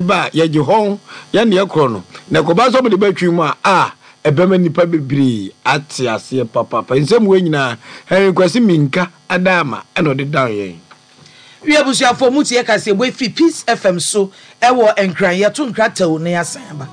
Ba a, yɛgye hɔn, yɛne yɛkorɔ no, na ɛkɔba sɛ wɔde ba twi mu a, a, ɛbɛma nnipa bebree ate aseɛ papaapa. Nsɛm wei nyinaa, Henry Kwasi Minka Adaama na ɔde dan yɛn. Wi abusuafoɔ mo tie kaseɛbɔ yi firi Peace FM so ɛwɔ Nkran yɛto nkra tɛw na yɛasan aba.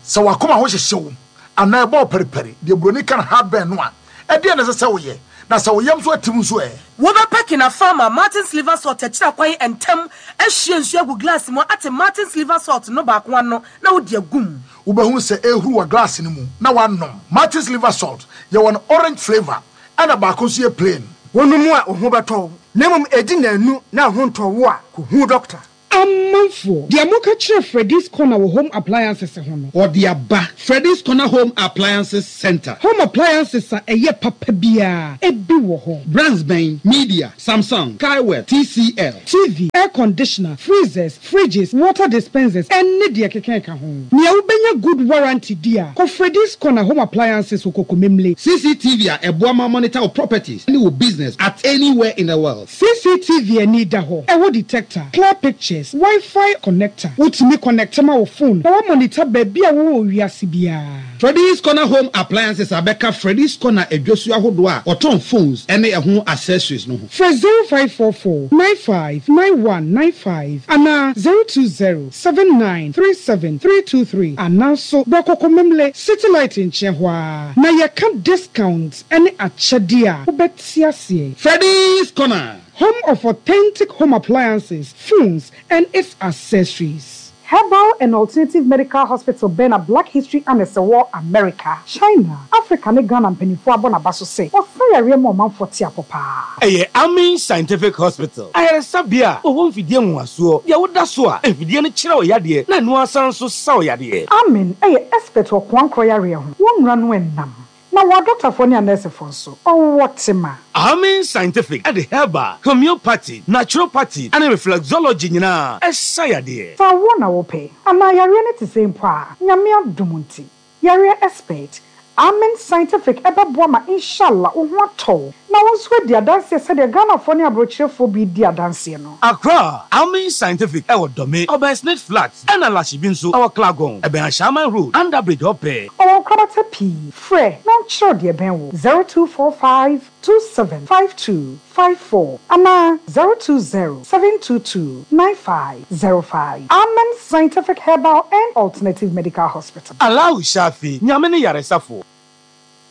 Sɛ w'akoma ho hyehye wo anaa ɛbɔ wo paripari, deɛ buroni ka no heartburn no a, ɛdeɛn na ɛsɛ sɛ woyɛ? Na sɛ wo yam nso atim nso ɛ? Wobɛpɛ Kina Farmer Martin's Liver Salt akyiri akwan ntɛm ahwie nsuo agu glass mu ate Martin's Liver Salt no baako ano na wode agu mu. Wobɛhunu sɛ ɛrehuru wɔ glass no mu na woanom. Martin's Liver Salt, yɛwɔ no orange flavour ɛna baako nso yɛ plain. Wonom a, wo ho bɛtɔ wo, na mmom ɛdi nnanu na wo ho ntɔ wo a, kɔhu dɔkta. Amanfoɔ, deɛ moka kyerɛ Freddy's Corner wɔ Home Appliances ho no. Ɔde aba. Freddy's Corner Home Appliances Centre. Home appliances a ɛyɛ papa biara, ebi wɔ hɔ. Brands bɛn? Media, Samsung, Skyworth, TCL. TV, air conditioner, freezers, fridges, water dispensers, ɛne deɛ ɛkeka ɛka ho. Nea wobɛnya good warranty di a, kɔ Freddy's Corner Home Appliances wɔ Kokomemle. CCTV a ɛboa ma monitor wo properties ne wo business at anywhere in the world. CCTV ani da hɔ, ɛwɔ detector, clear pictures, Wi-Fi connector, wotumi connect ma wo phone na woamonitor baabi a wowɔ wɔ wiase biara. Freddy's Corner Home Appliances abɛka Freddy's Corner adwasu ahodoɔ a wɔtɔn phones ne ɛho accessories no ho. Frɛ 0544 95 91 95 anaa 020 79 37 323 anaa nso bra Kɔkɔmemle City Light nkyɛn hɔ ara na yɛka discount ne akyɛdeɛ a wobɛte aseɛ. Freddy's Corner. Home of authentic home appliances, phones and its accessories. Herbal and Alternative Medical Hospital bɛn na Black History Annex wɔ America, China, Africa ne Ghana mpanimfoɔ abɔ n'aba so sɛ ɔsa yareɛ ma ɔmanfoɔ te apɔ paa. Ɛyɛ Amin Scientific Hospital, ayaresabea a wɔwɔ mfidie nwonwasoɔ, deɛ woda so a mfidie no kyerɛ wo yadeɛ na ɛno ara san nso sa wo yadeɛ. Amin yɛ expert wɔ koankorɔ yareɛ ho, wɔn nnura no nnam. Na wɔ adɔktafoɔ ne anɛɛsefoɔ nso, ɔwɔ tema. Amin Scientific de herbal, homeopathy, naturopathy ne reflexology nyinaa sa yadeɛ. Sɛ awoɔ na wopɛ, anaa yareɛ no te sɛn mpo a, Nyame adom nti, yareɛ expert, Amen Scientific bɛboa ma inshallah wo ho atɔ wo, na wo nso adi adanseɛ sɛdeɛ Ghanafoɔ ne abrokyerefoɔ bi redi adanseɛ no. Accra, Amen Scientific wɔ Dome, ɔbɛn Snit Flat, ɛna Lashibi nso wɔ Klagon, ɛbɛn Ashaiman Road, Under Bridge hɔ pɛɛ. Ɔwɔ nkorabata pii, frɛ na ɔnkyerɛ wo deɛ ɛbɛn wo, 0245 27 52 54 anaa 020 722 9505. Amen Scientific Herbal and Alternative Medical Hospital. Allahu Shafi, Nyame ne yaresafo.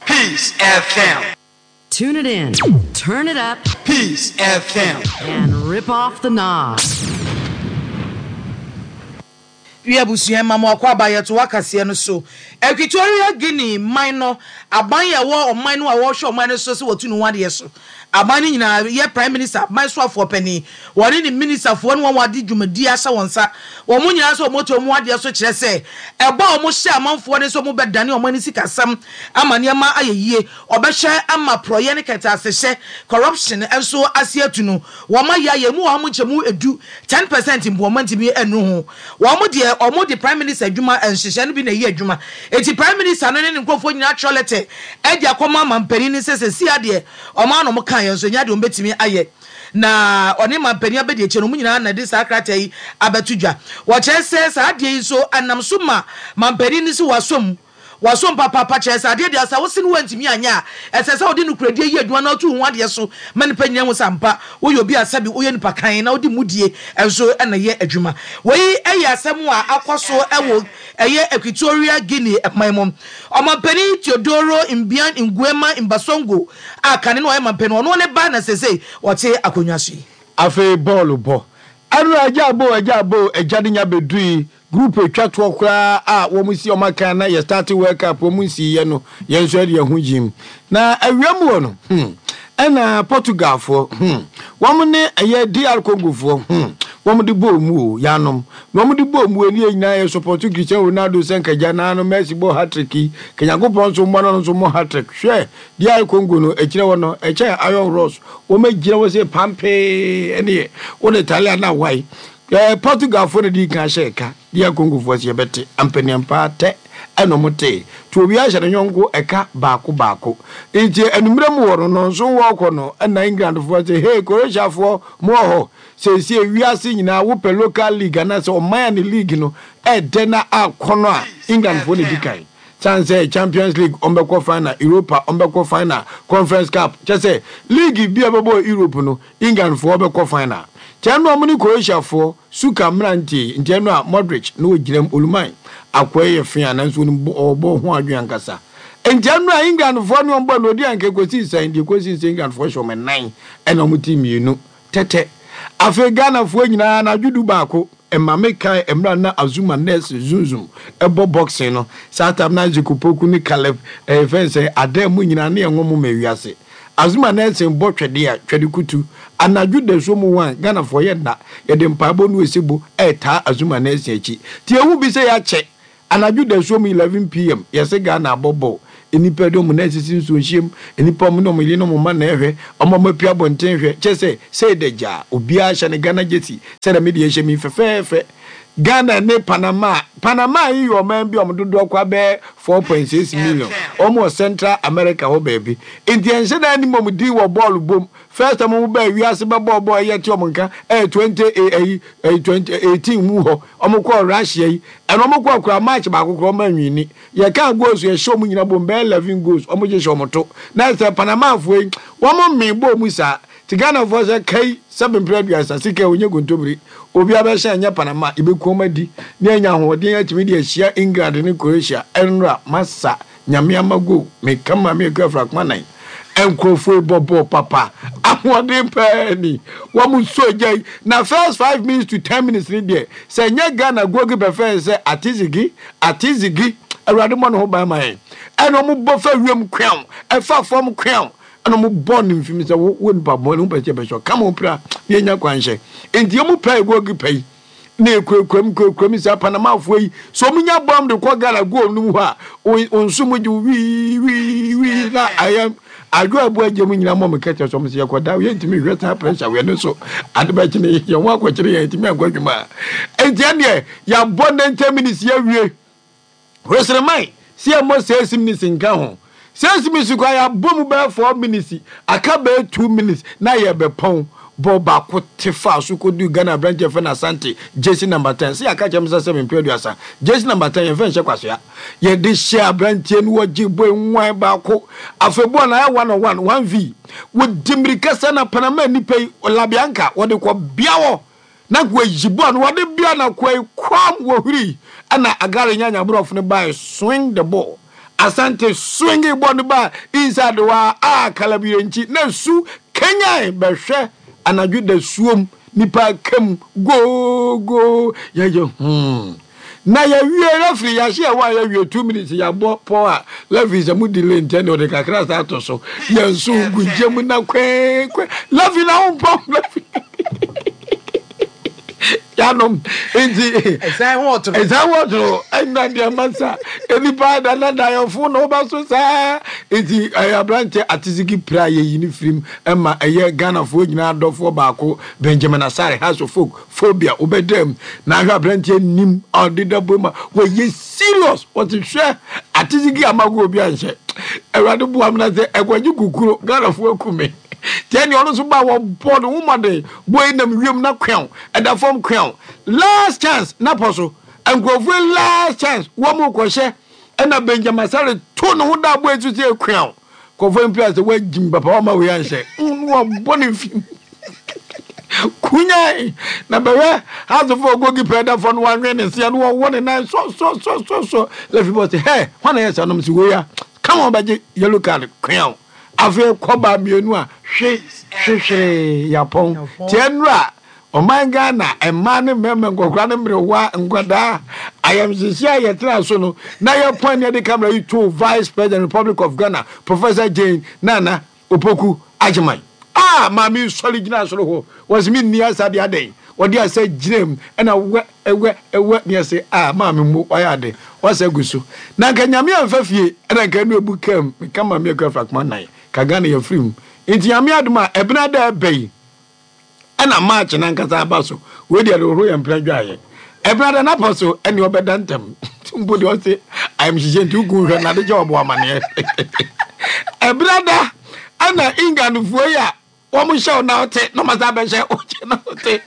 Peace FM. Tune it in, turn it up, Peace FM. and rip off the knob. Wi abusua mma mo akwaaba yɛto akaseɛ no so. Equatorial Guinea man no aban a ɛwɔ ɔman no a wɔhwɛ ɔman no so sɛ wɔtu ne ho adeɛ so. Aban no nyinaa yɛ Prime Minister, aban soafoɔ panin, wɔne ne ministafoɔ ne wɔn a wɔde dwumadie ahyɛ wɔn nsa. Wɔn nyinaa nso wɔatu wɔn adeɛ so kyerɛ sɛ ɛbɔ a wɔhyɛ amanfoɔ no sɛ wɔbɛdane ɔman no sikasɛm ama nneɛma ayɛ yie, wɔbɛhwɛ ama porɔeɛ ne kɛtɛasehyɛ, corruption, nso ase atu no. Wɔayɛ ayɛ emu ɔha mu nkyɛmu edu, 10%, mpo wɔantumi annuru ho. Wɔn deɛ, wɔde Prime Minister adwuma nhyehyɛe no bi na ɛyɛ adwuma. Enti Prime Minister no ne ne nkurɔfoɔ nyinaa atwerɛ lɛtɛ de akɔma mampanin no sɛ seesei ara deɛ wɔn ara na wɔkaeɛ nso ɛnyɛ adeɛ wɔbɛtumi ayɛ. Na ɔne mampanin abɛdi akyire no, wɔn nyinaa na ɛde saa krataa yi abɛto dwa. Wɔkyerɛ sɛ saa adeɛ yi nso ɛnam so ma mampanin no sɛ wasɔ mu. Wasom papaapa, kyerɛ sɛ adeɛ deɛ sɛ wose no woantumi anyɛ a, ɛsɛ sɛ wode nokorɛdie yɛ adwuma na wotu wo ho adeɛ so ma nnipa nyinaa hu sɛ ampa woyɛ obi a sɛbe woyɛ nipa kann na wode mudie nso na ɛyɛ adwuma. Wei yɛ asɛm a akɔ so wɔ ɛyɛ Equatorial Guinea man mu. Ɔmampanin Teodoro Mbiang Nguema Mbasogo a kane no ɔyɛ mampanin, ɔno ne ba na seesei ɔte akonnwa so yi. Afei bɔɔlo bɔ. Ɛno agya abo agya abo agya de nya bɛdui Group etwa toɔ koraa a wɔn si wɔn akan na yɛ starte world cup wɔn nsii yɛ no yɛn nso yɛde yɛn ho gyim na awia mu hɔ no hmm ɛna Portugal foɔ hmm wɔn ne ɛyɛ DR Congo foɔ hmm wɔn de bɔɔ mu o yanom na wɔn de bɔɔ mu ɛni yɛ nyinaa yɛ support Cristiano Ronaldo sɛ nkagya naa no Messi bɔ hat-trick yi ka Nyankopɔn nso mmɔ no no nso mmɔ hat-trick hwɛ DR Congo no ɛkyerɛ hɔ no ɛkyɛn Iron Ross wɔn agyina hɔ sɛ pampee ɛne yɛ wɔn Italia na wae. Ɛɛ Portugalfoɔ na dii kan hyɛɛ ka, DR Congofoɔ se yɛbɛte, ampaniampaa tɛ ɛna ɔmo tee, nti obiara hyɛ ne yɔnko ɛka baako baako. Nti anummerɛ mu hɔ no, nnɔnson wɔɔkɔ no, ɛna Englandfoɔ se hey Croatiafoɔ mo wɔ hɔ? Seesei wiase nyinaa wopɛ local league anaasɛ ɔman a ne league no ɛɛdɛ na akɔnɔ a, Englandfoɔ na edi kan. Sane sɛ Champions League ɔmo bɛkɔ final, Europa ɔmo bɛkɔ final, Conference Cup, kyerɛ sɛ league bi a ɛbɛbɔ wɔ Europe no, England foɔ bɛkɔ final. Nti ɛno a ɔmo ne Croatia foɔ suka mmeranteɛ yi, nti ɛno a Modric na ɔgyina mu, Oluman akoa yi yɛ fea nanso onim bɔ, ɔwɔ bɔɔl ho adwene ankasa. Nti ɛno a England foɔ ne ɔmo bɔɔ no ɔdi anka ɛkɔsii sɛn? Deɛ ɛkɔsii sɛ England foɔ hyɛ ɔmo nnan ɛna ɔmo ti mmienu tɛtɛ. Afei Ghana foɔ nyinaa anadwo du baako Ɛma me kae mmerɛ a na Azuma Nurse Zunzum bɔ boxing no, saa time no Isaac Opoku ne Caleb ɛyɛ fɛn sɛn Adair mo nyinaa ne yɛn nwom ma wiase. Azuma Nurse bɔ twɛdeɛ a, twɛde kutu. Anadwo dasuo mu one, Ghanafoɔ yɛ nna, yɛde mpaebɔ ne osebo ɛretaa Azuma Nurse akyi. Nti yɛhu bi sɛ yɛakyɛ. Anadwo dasuo mu 11 PM, yɛse Ghana abɔ bɔɔl, nnipa de wɔn nan asisi nsuo nhyiam, nnipa wɔn ne wɔn yere ne wɔn mma na ɛhwɛ, wɔn a wɔapue abɔnten hwɛ, kyerɛ sɛ sei da gyaa, obiara hyɛ ne Ghana jersey sɛdeɛ me deɛ hyɛ me yi fɛfɛɛfɛ. Ghana ne Panama, Panama yi yɛ ɔman bi a wɔn dodoɔ kɔ abɛyɛ 4.6 million, wɔn wɔ Central America hɔ baabi, nti yɛnhyɛ da nnim wɔn din wɔ bɔɔl bɔ mu, first time wɔn baa wiase bɛbɔɔ bɔɔl a yɛte wɔn nka ɛyɛ 20 ɛyi ɛyi 2018 mu hɔ, wɔn kɔɔ Russia yi, Ɛna ɔmo kɔɔ koraa match baako koraa ɔmo anwini. Yɛkaa goals yɛhyɛ ɔmo nyina bom bɛyɛ 11 goals ɔmo gye hyɛ ɔmo to. Na sɛ Panama foɔ yi wɔn mmee bɔɔ mu saa. Nti Ghana foɔ sɛ kai sɛbe mpere aduasa sika yi ɔnyɛ kontomire. Obia bɛhyɛ ɛnyɛ Panama yɛbɛku ɔmo adi na yɛanya ahoɔden atumi de ahyia England ne Croatia ɛnora masa Nyame ama go me ka maame akua frakoma nan nkurɔfoɔ yi bɔ bɔɔl papa ahoɔden paa ni wɔn nso gya yi na first 5 minutes to 10 minutes ni deɛ sɛ nyɛ Ghana goalkeeper fɛn sɛ Atizigi Atizigi, Awurade mmɔ ne ho ban ma yɛn. Ɛna wɔn bɔ fa wiem kweaw, ɛfa fam kweaw, ɛna wɔn bɔ ne mfim sɛ wo wo nipa bɔne wo pɛ sɛ yɛbɛhyɛ kama wo pira na yɛnya kwanhyɛ nti wɔn pira goalkeeper yi na ekurakura mu kurakura mu saa Panamafoɔ yi so wɔn nya bɔm de kɔ Ghana goal no mu hɔ a wɔn nso mu gye wii wii wii na ayɛ adwo abu agye mu nyinaa mɔ mo kɛtɛ so wɔn sɛ yɛkɔ da yɛntumi nhwɛ saa pressure wɛ no so ade bɛkye ne yɛn ho akɔkyere yɛn ntumi ankɔ adwuma nti ɛneɛ yɛabɔ 90 minutes yɛawie. Hwesreman sɛ yɛmmɔ 6 minutes nka ho. 6 minutes koraa yɛabɔ mu bɛyɛ 4 minutes, aka bɛyɛ 2 minutes na yɛrebɛpɔn. Bɔɔl baako te faa so kɔduu Ghana aberanteɛ yɛfrɛ no Asante, jersey number 10. Sɛ yɛaka kyerɛ me sɛ sɛ mempɛ 30, jersey number 10 yɛmfa nhyɛ kwasea. Yɛde hyɛɛ aberanteɛ no wɔgye bɔɔl nwan baako. Afei bɔɔl no ayɛ one on one, one v. Wɔdi mmirika sɛ na Panama nnipa yi, Labianca, wɔde kɔ bea hɔ. Na wɔayi bɔɔl no wɔde bea na koa yi kwam wɔhuri ɛna Agare nya nyaborɔfo no bae swing the ball Asante swingi bɔɔl no baa inside hɔ a a Kalabire nkyi na su kanyan bɛhwɛ anadwo da suom nipa kam goo goo yɛyɛ hmm na yɛwie referee yɛahyɛ yɛn hɔ a yɛwie 2 minutes yɛabɔ pɔn a referee sɛ mo delay ntɛn deɛ ɔde kakra saa ato so yɛn nso gu gya mu na kwɛɛkwɛ referee na wo mpɔn referee yanom nti ɛsan ho ɔtoro ɛsan ho ɔtoro ɛnna deɛ masa nipa danadayɔfo na ɔba so saa nti ɛyɛ aberanteɛ atesiki pira yɛyi ne firim ɛma ɛyɛ Ghanafoɔ nyinaa dɔfoɔ baako Benjamin Asare House of Folk Phobia wobɛda mu na ahwɛ aberanteɛ nim a ɔde da bom a wɔyɛ serious wɔte hwɛ atesiki amago obi anhyɛ Awurade boa me na sɛ ɛkɔgye kukuro Ghanafoɔ aku me tiɛ nea ɔno nso ba wɔbɔ ne ho mmɔden bɔ yi nam wiem na kweaw ɛda fam kweaw last chance na pɔ so nkurɔfoɔ last chance wɔn mu kɔhyɛ ɛna Benjamin Asare to ne ho da abɔ esu sɛ kweaw nkurɔfoɔ mpira sɛ wɔagyim papa wɔn ma wei anhyɛ wɔbɔ ne mfim kunyan na bɛhwɛ asofo goalkeeper ɛda fam no wɔanwɛn ne nsia no wɔwɔ ne nan sɔsɔsɔsɔsɔ lɛfi bɔ sɛ hɛ hɔn na yɛ sɛ ɔnom sɛ wei a come on bɛgye yellow card kweaw afei kɔba mmienu a hwe hwehwee yapɔn tiɛ nnura ɔman Ghana mmaa ne mmarima nkɔkora ne mmerewa nkwadaa ayamhyehye a yɛtena so no na yɛpɔn ne yɛde camera yi to Vice President Republic of Ghana Professor Jane Nana Opoku Agyeman a maame sɔre gyina soro hɔ wɔsi mi nni asa de adɛn wɔde asa gyina mu ɛna wɛ ɛwɛ ɛwɛ ne ɛsɛ a maame mu wayɛ ade wasa gu so na nka Nyame amfa fie ɛna nka ɛnu ebu kam meka maame akua frakoma nan ka Ghana yɛfiri mu nti Nyame adom a ɛbena da ɛbɛ yi ɛna March nankasa aba so. Wei deɛ de hohoro yɛn mpena dwaeɛ. Ɛbena da n'apɔ so ɛne ɔbɛda ntɛm. Mpo deɛ ɔse ayamhyehyeɛ nti woku hwɛ nade kyɛ ɔbɔ amaneɛ. Ɛbena da ɛna Englandfoɔ yi a wɔn hyɛ wo na wote na wɔn asan bɛhyɛ wo kyɛ na wote.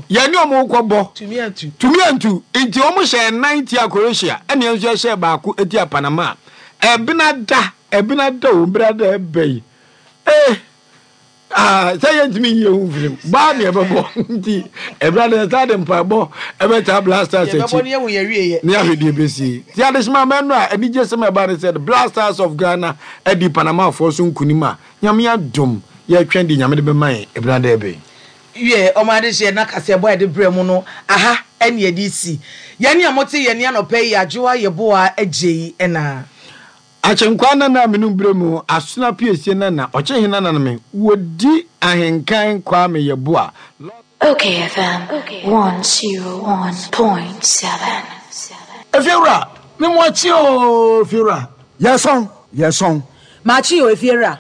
Yɛne wɔn kɔ bɔ. Tumi antu. Tumi antu. Nti wɔn hyɛ nnan tia Croatia ɛne yɛn nso yɛhyɛ baako tia Panama. Ɛbena da ɛbena da o ɛbena da ɛbɛ yi. Eh! Ah, sɛ yɛntumi nyi yɛn ho mfiri mu baa ne ɛbɛbɔ nti ɛberɛ no yɛsan de mpaebɔ ɛbɛtaa Black Stars akyi Yɛbɛbɔ ne yɛhu yɛn awieɛ. ne ahwɛ deɛ ɛbɛsi. Nti adehyema mɛno a anigye sɛm a ɛbaa ne sɛ the Black Stars of Ghana adi Panamafoɔ so nkunim a Nyame adom yɛretwɛn deɛ Nyame de bɛma yɛn ɛberɛ ada ɛbɛn. Wiɛ, ɔmo adehyeɛ na kaseɛbɔ a yɛde brɛ mo no aha ɛne yɛde resi. Yɛne a mote yɛn nne anɔpa yi Adwoa Yeboah Adjei ɛna. Akyenkwaa nana a menum berɛ mu Asono apiesie nana Ɔkyehe nana no me Wɔdi ahenkan Kwame Yeboah Lawson. Okay FM 101.7. Efiewura, me mo akye oo Efiewura. Yɛsɔn, yɛsɔn. Makye o Efiewura.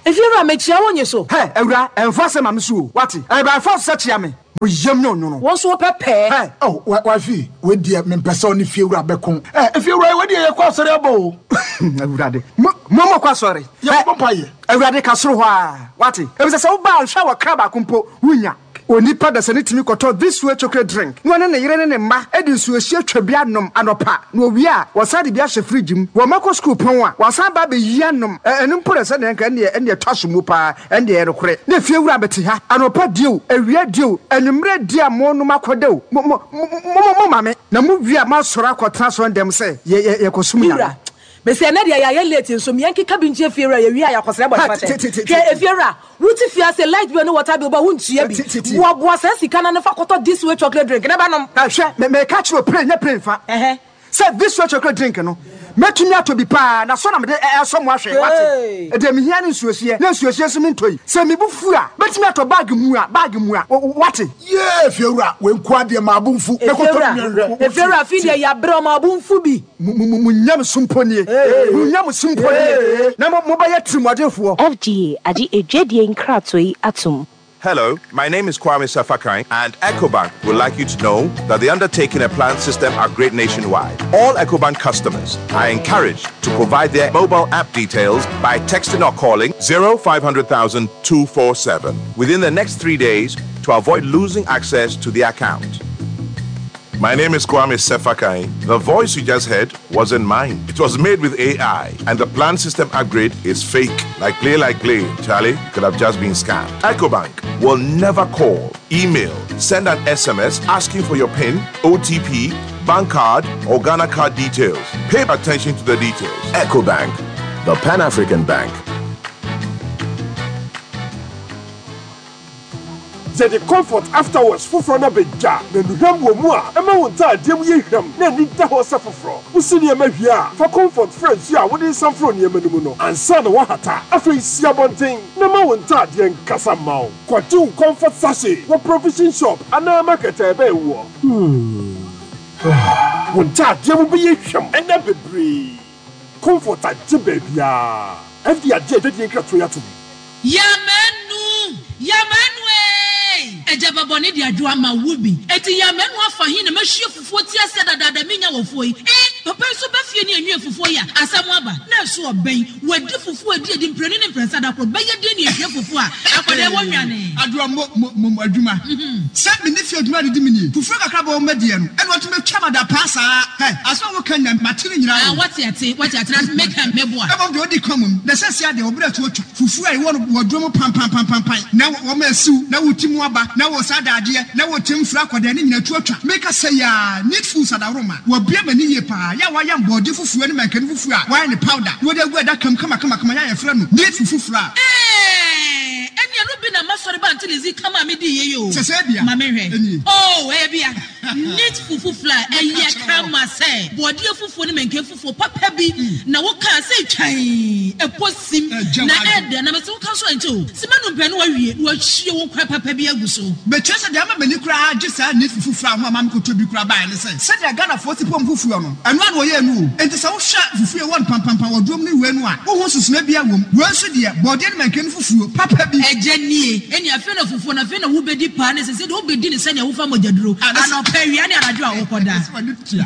Efiewura, mekyia wo nye so. Hɛ, awura, ɛmfa asɛm ma me so o, woate? Ɛyɛ by force sɛ kyia me. Mo yam nyɛ onwono. Wo nso wopɛ pɛɛ. Hɛ! Oh, wifey, wei deɛ mempɛ sɛ ɔne fiewura bɛko. Eh, efiewura, wei deɛ yɛkɔ asɔre aba o. Awurade, mo, mo mokɔ asɔre. Yɛkɔbɔ mpaeɛ. Awurade, ka soro hɔ ara, woate? Efisɛ sɛ woba a, nhwɛ a wɔkra baako mpo, wunnya. Onipa dasani tumi kɔtɔ This Way chocolate drink na ɔne ne yere ne ne mma de nsuohyeɛ twa bi anom anɔpa, na wɔwie a, wɔsan de bi ahyɛ fridge mu. Wɔn mma kɔ sukuu pɔn a, wɔasan aba abɛyi anom. Ɛ, ɛno mpo na sɛdeɛ anka ɛnneɛ, ɛnneɛ ɛtɔ asom mu paa. Ɛndeɛ ɛyɛ nokorɛ, na efiewura bɛte ha, anɔpa die o, awia die o, anwummerɛ die a monom akɔda o, mo, mo, mo, mo, moma me, na mowie a moasɔre akɔtena asɔrendɛm sɛ yɛ, yɛ, yɛkɔsom Me Nyame. wura, mese ɛnɛ deɛ yɛayɛ late nso me yɛnkeka bi nkyerɛ fiewura, yɛwie a yɛakɔsrɛ Ha, bɔne fakyɛ. te, te, te, te, Hwɛ, efiewura, wote fie ase, light bill ne water bill ba wontua bi. Te, te, te. Boaboa saa sika no ano fa kɔtɔ this way chocolate drink na bɛnom. Ha, hwɛ, me, meka kyerɛ wo, pray nyɛ pray mfa. Ɛhɛ. Sɛ this way chocolate drink no, mɛtumi atɔ bi paa, na sɔ na mede ɛsɔ mo ahwɛ, wate? Deɛ mehia ne nsuohyeɛ, na nsuohyeɛ nso mentɔ yi. Sɛ me bo fu a, mɛtumi atɔ bag mua, bag mua, wate? Yee, Fiewura, wei nkoa deɛ maa bo mfu. Mɛkɔtɔ bi nhwɛ. Fiewura, afei deɛ yɛabrɛ o, maa bo mfu bi. Mo, mo, mo nyamesom mpo nie, mo nyamesom mpo nie, na mo, mobɛyɛ tirimuɔdenfoɔ. FDA agye adwadie nkratoɔ yi atom. Hello, my name is Kwame Safakai, and EcoBank would like you to know that they're undertaking a planned system upgrade nationwide. All EcoBank customers are encouraged to provide their mobile app details by texting or calling 0500 247 within the next three days to avoid losing access to the account. My name is Kwame Sefakai. The voice you just heard wasn't mine. It was made with AI, and the planned system upgrade is fake. Like play, like play. Charlie could have just been scammed. EcoBank will never call, email, send an SMS asking for your PIN, OTP, bank card, or Ghana card details. Pay attention to the details. EcoBank, the Pan African Bank. Yɛde Comfort After Wash foforɔ no aba dwa, na nnuhwam wɔ mu a ɛma wo ntaadeɛ mu yɛ hwam na ani da hɔ sɛ foforɔ. Wosi nneɛma wie a, fa Comfort fra nsuo a wode resan foro nneɛma no mu no ansa na woahata. Afei si abɔnten na ma wo ntaadeɛ nkasa mma wo. Kɔgye wo Comfort sachet wɔ provision shop anaa market a ɛbɛn woɔ. Wo ntaadeɛ mu bɛyɛ hwam nna bebree. Comfort agye baabiara. FDA agye adwadie nkratoɔ yi atom. Yamanu! Yamanu eei! Agya ba bɔne de adwo ama wo bi. Enti Yamanu afa he na mahwie fufuo ti aseɛ dadaada menya wɔ fuo yi? Eh! Papa yi nso ba fie ne anwie fufuo yi a, asɛm aba. Na ɛso ɔbɛn. Wadi fufuo adi adi mprenu ne mprɛnsa da koro. Bɛyɛ den ne ahwie fufuo a akwadaa yi wɔ nwane. Adwoa mo mo mo adwuma sɛ me ne fie adwuma adidi me nie fufuo kakra bɔ wɔn adiɛ no ɛna wɔtumi atwa ma da paa saa hɛ asɛm a woka nyinaa mate ne nyinaa Ah o. wate ate wate ate na meka meboa. Mmom deɛ ɔdi kan mmom na ɛsɛ sɛ adeɛ wɔbrɛ to atwa fufuo a ɛwɔ no wɔ duro mu panpanpanpanpan na wɔma asiw na wɔti mu aba na wɔ saa dadeɛ na wɔkyɛm firi akɔdɛn ne nyinaa tu atwa. Meka sɛ yaa neat foods adaworoma wɔabue m'ani yie paa yɛ a wɔayam bɔɔde fufuo ne mankani fufuo a wɔayɛ no powder na wɔde agu adaka mu kamakamakama yɛ a yɛfrɛ no neat fufu flour. Eeii ɛne ɛno bi na masɔre ba Auntie Lizzie ka maa me dii yei oo Sɛ sɛ ebia ma me nhwɛ nie. oo ɛyɛ bia. Neat fufu flour ɛyɛ kama sɛ bɔɔdeɛ fufuo ne mɛnkɛn fufuo papa bi na wo kaa sɛ twann ɛpɔ sim na ɛdɛ na mese wo ka nso ɛnkyɛ o sima num pɛ na wawie na wahwie wo nkwan papa bi agu so. Mekyerɛ sɛ deɛ ama m'ani koraa gye saa neat fufu flour ho a maame kɔtɔ bi koraa baeɛ ne sɛ sɛdeɛ Ghanafoɔ si pɔm fufuo no ɛno ara na wɔyɛɛ no o. Enti sɛ wohwɛ fufuo a ɛwɔ no pampampan wɔ drom ne wei no a wonhu nsusunoeɛ biara wɔ mu. Wei nso deɛ bɔɔdeɛ ne mɛnkɛn fufuo papa bi. Agya nie, ɛnneɛ afei na fufuo no, afei na wobɛdi paa ne sese deɛ wobɛdi no sɛdeɛ wofa mogyaduro, anɔpa, awia ne anadwo a wokɔda.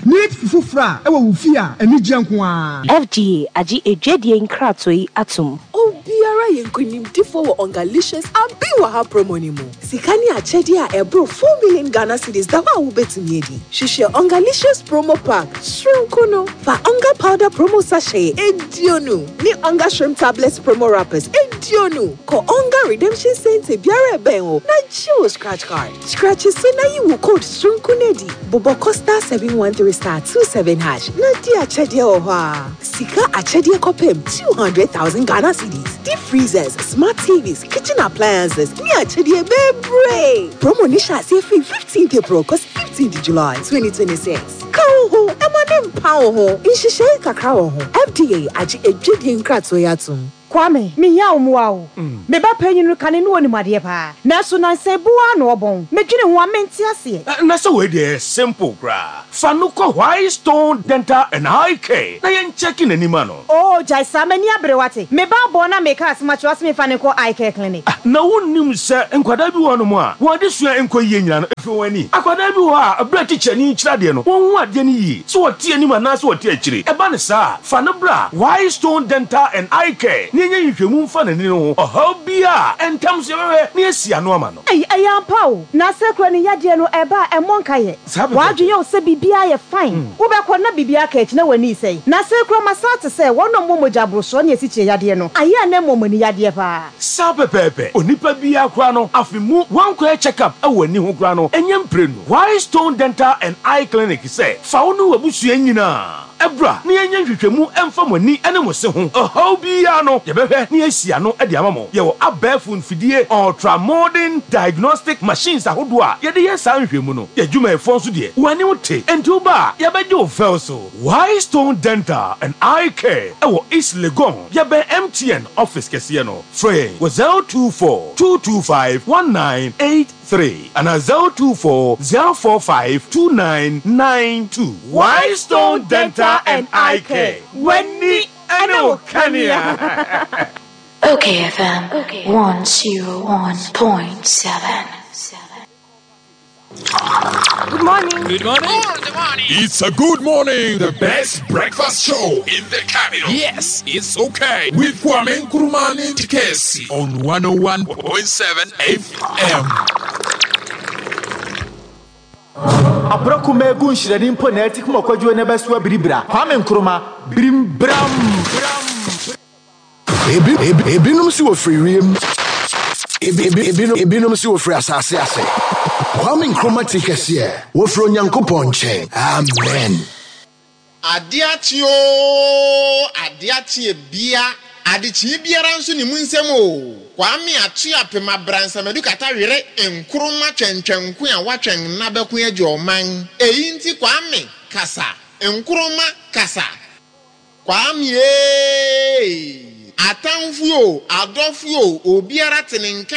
Neat fufu fra wɔ wo fie a, anigyeɛ nko ara. FDA agye adwadie nkratoɔ yi atom. Obiara yɛ nkonimdifoɔ wɔ Ongalicious Abi Wɔ Ha promo no mu. Sika ne akyɛdeɛ a ɛboro 4 million Ghana cedis da hɔ a wobɛtumi adi. Hwehwɛ Ongalicious promo pack soronko no. Fa Onga powder promo sachet aduonu ne Onga shrimp tablets promo wrappers aduonu kɔ Onga redemption centre biara a ɛbɛn wo na gye wo scratch card. Scratch so na yi wo code soronko no adi. Bobɔ kɔ *713 *27 hash na di akyɛdeɛ wɔ hɔ ara. Sika akyɛdeɛ kɔpem 200,000 Ghana cedis, deep freezers, smart TVs, kitchen appliances ne akyɛdeɛ bebree. Promo no hyɛ aseɛ firi 15th April kɔsi 15th July 2026. Ka wo ho ma no mpa wo ho. Nhyehyɛe kakra wɔ ho. FDA agye adwadie nkratoɔ yi atom. Kwame, mehia wo mmoa o. Me ba panyin no kane no onim adeɛ paa, nanso nansa yi bo ara na ɔbɔn. Medwene ho a, mente aseɛ. Na sɛ wei deɛ ɛyɛ simple koraa. Fa no kɔ White Stone Dental and Eye Care na yɛn kyɛke n'ani ma no. Oo gyae saa, m'ani abere wate. Me ba abɔn na meka asɛm akyerɛ wo ase memfa no nkɔ Eye Care Clinic. Na wonnim sɛ nkwadaa bi wɔ hɔnom a, wɔn adesua nkɔ yie nyinaa no, ɛfiri wɔn ani. Akwadaa bi wɔ hɔ a, berɛ a tikyani rekyerɛ adeɛ no, wɔnhu adeɛ no yie, sɛ wɔte anim anaasɛ wɔte akyire. Ɛba no saa a, fa no bra White Stone Dental and Eye Care na yɛnyɛ nhwehwɛmu mfa n'ani no ho ɔhaw biara a, ntɛm so yɛbɛhwɛ na yɛasi ano ama no. Ei, ɛyɛ ampa o. Na sɛ kura ne yadeɛ no ɛba a, ɛmmɔ nkayɛ. Saa pɛpɛɛpɛ. W'adwene yɛ wo sɛ biribiara yɛ fine. Wobɛkɔ no na biribiara aka akyi na w'ani resɛe. Na sɛ kura masan ate sɛ wɔn a wɔwɔ mogya aborosoɔ ne asikyire yadeɛ no, ayɛ a na ɛmmɔ wɔn ani yadeɛ paa. Saa pɛpɛɛpɛ. Onipa biara koraa no, afe mu wankɔyɛ check up wɔ ani ho koraa no, ɛnyɛ mprenu. White Stone Dental and Eye Clinic sɛ, fa wo ne w'abusua nyinaa bra na yɛnyɛ nhwehwɛmu mfa mo ani ne mo se ho. Ɔhaw biara no, yɛbɛhwɛ na yɛasi ano de ama mo. Yɛwɔ abɛɛfo mfidie, ultra modern diagnostic machines ahodoɔ a yɛde yɛ saa nhwehwɛmu no. Yɛn adwumayɛfoɔ nso deɛ, wɔn anim te, enti woba a, yɛbɛgye wo fɛw so. White Stone Dental and Eye Care wɔ East Legon, yɛbɛn MTN office kɛseɛ no. Frɛ yɛn wɔ 024 225 1983 anaa 024 045 2992. White Stone Dental and Eye Care, w'ani ne wo kanea. Okay FM 101.7. Good morning. Good morning. Good morning. It's a good morning. The best breakfast show in the capital. Yes, it's okay. With Kwame Nkrumah Tikesi on 101.7 FM. Abrɔko mɛgu nhyirɛni mpo na ati kuma kwadwo ne bɛso abiribira Kwame Nkrumah birim bram. Ebi, ebi, ebinom si wɔfiri wiem. Ebi, ebi, ebinom, ebinom si wɔfiri asase ase. Kwame Nkrumah ti kɛseɛ, wɔfiri Onyankopɔn nkyɛn. Amen. Ade akye oo, ade akye ebia, adekyee biara nso ne mu nsɛm oo, Kwame Atwe Apem Abransamadu Kata Were Nkrumah Twɛntwɛnko a watwɛn nna bɛko agye ɔman, eyi nti Kwame kasa, Nkrumah kasa. Kwame eeii! Atamfo oo, adɔfo oo, obiara te ne nka a.